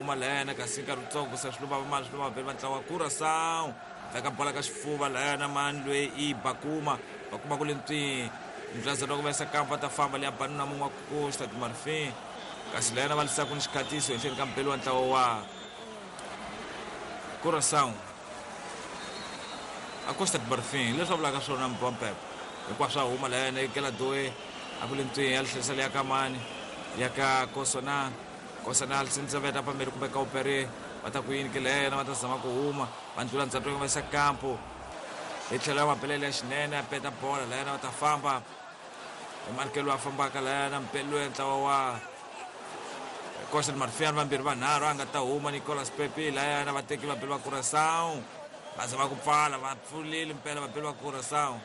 Huma layana kasi nkarhi wutsongo se swi lova mani swi lova vhele va ntlawa Curaçao veka bola ka xifuva layana mani loyi i Bakuma Bakuma ku le ntswi ndlazana ku vesa kampa ta famba leya banuna mun'we wa Costa de Marfin kasi layana va lisaku ni xikhatiso henhleni ka mpelo wa ntlawa wa Curaçao a Costa de Marfin leswi va vulaka swona Mpompep hinkwaswo a huma layana ekela doe a ku le ntswi ya lihlesa leya ka mani ya ka Kosona Kosana Alsinzaveta pamberi kumbe ka Opere va ta ku yini ke leyo va ta zama ku huma va ndlula ndzhato va yisa kampo hi tlhelo ya mapelele ya xinene a peta bola layana va ta famba hi markelo a fambaka layana mpelo ya ntlawa wa Costa de Marfin vambirhi vanharhu a nga ta huma Nicolas Pepe layana vateki vabeli va Curaçao va zama ku pfala va pfulile mpela vabeli va Curaçao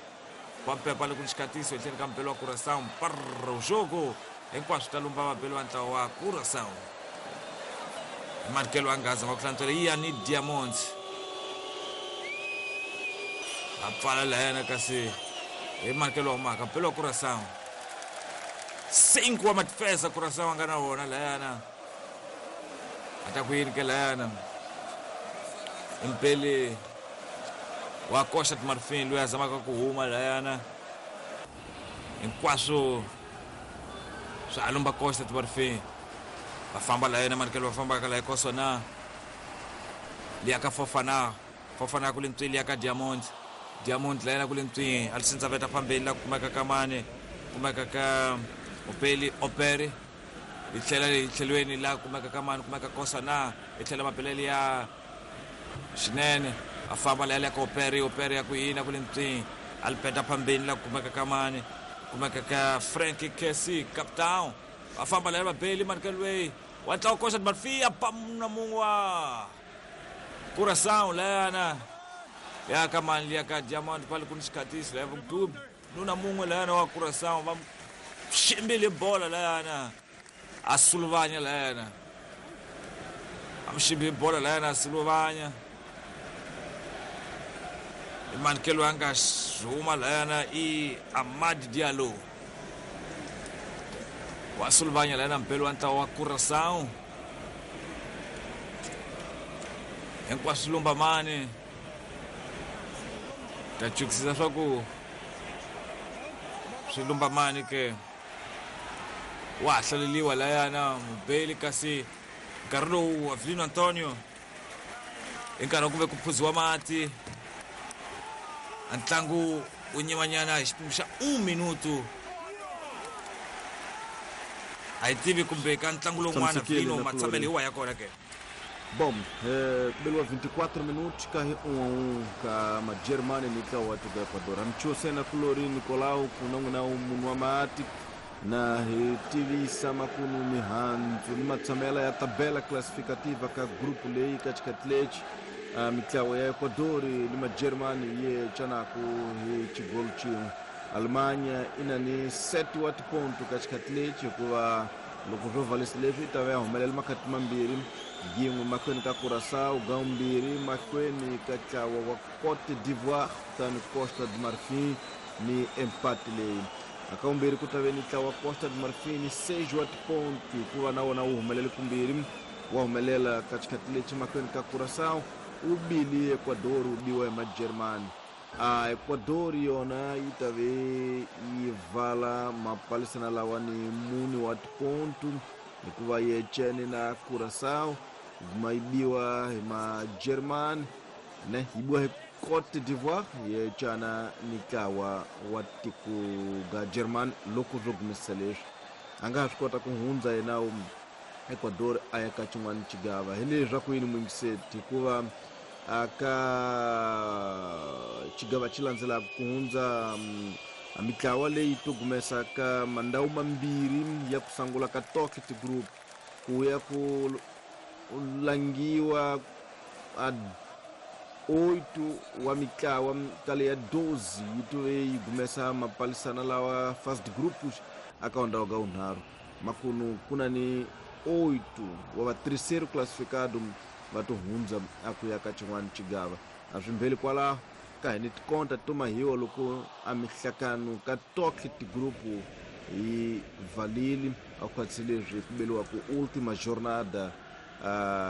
va pepa le ku ni xikatiso etlheni ka mpelo wa Curaçao parro jogo hinkwaswo ta lumba vabeli va ntlawa wa Curaçao hi markelo a nga zama ku hlantswela Ian Diamonds a pfala layana kasi hi markelo wa humaka mpelo wa Curaçao 5 wa matifesa Curaçao a nga na wona layana a ta ku yini ke layana impeli wa Costa de Marfin loyi a zamaka ku huma layana hinkwaswo swa alumba Costa de Marfin va famba layana marikelo va fambaka la kosona liya ka Fofana Fofana ku le ntswini liya ka Diamond Diamond layana ku le ntswini a lisindza veta phambeni la kumeka ka mane kumeka ka Opeli Operi yi tlhela hi tlhelweni la kumeka ka mani kumeka Kosana yi tlhela mapelele ya xinene a famba la ya ka Operi Operi ya ku yini ku le ntswini a li peta phambeni la kumeka ka mani kumeka ka Frank Kessie Captain va famba la ya vabeli markelwey wa ntlawa Costa de Marfin a pamuna mun'we wa Curaçao layana ya ka mani liya ka Diamond pale ku ni xikhatiso laya vudubi nuna mun'we layana wa Curaçao va ximbile bola layana a suluvanya layana a muximbi bola layana a suluvanya i manikelo a nga huma layana i Amad Diallo wa suluvanya layana mpelo wa ntlawa wa Curaçao hinkwaswo lumba mani ta chukisisa swa ku swi lumba mani ke wa ha hlaleliwa layana mubeli kasi nkarhi lowu Avelino Antonio hi nkarhi wa ku ve ku phuziwa mati a ntlangu wu nyimanyana hi xipimo xa 1 minutu a yi tivi kumbe ka ntlangu lowun'wana Avelino matshamelo hi wa ya kona ke. Bom, ku beliwa 24 minutos ka hi 1 a 1 ka Majeremani ni ntlawa wa tiko Ecuador. Hamchosena kulori Nicolau ku na n'wina munhu wa mati na hi tivisa makunu mihandzu ni matshamela ya tabela classificativa ka grupu leyi ka xikhathi lexi mitlawa ya Ecuador ni Majeremani yi canaku hi xigolo xin'we. Alemanha i na ni 7 wa tiponto ka xikhathi lexi hikuva loko swo valisa leswi yi ta va ya humelela makhati mambirhi yin'we mahlweni ka Curaçao gaumbirhi mahlweni ka ntlawa wa Cote d'Ivoire kutani Costa de Marfin ni empate leyi akaumbirhi ku ta ve ni ntlawa Costa de Marfin ni 6 wa tiponto hikuva na wona wu humelele kumbirhi wa humelela ka xikhathi lexi mahlweni ka Curaçao wu bili Ecuador wu biwa hi Majeremani. Ecuador yona yi ta ve yi vala mapalisana lawa ni mune wa tiponto hikuva yi ecene na Curaçao guma yi biwa hi Majeremani ne yi biwa hi Cote d'Ivoire yi ecana ni ntlawa wa tiko ga Germany loko swo gumisa leswi a nga ha swi kota ku hundza yena Ecuador a ya ka xin'wana xigava hi leswaku yini muyingiseti hikuva aka xigava xi landzelaka ku hundza mitlawa leyi to gumesa ka mandhawu mambirhi ya ku sungula ka toke tigroup ku ya ku langiwa a 8 wa mitlawa ka leya 12 yi tove yi gumesa mapalisana lawa first group aka ndhawu ka vunharhu makunu ku na ni 8 wa va terceiro classificado va to hundza a ku ya ka xin'wana xigava a swi mbheli kwalaho ka hi ni tikonta to mahiwa loko a mihlakano ka toke tigrupu yi valili a khwatsi leswi ku beliwaku ultima jornada.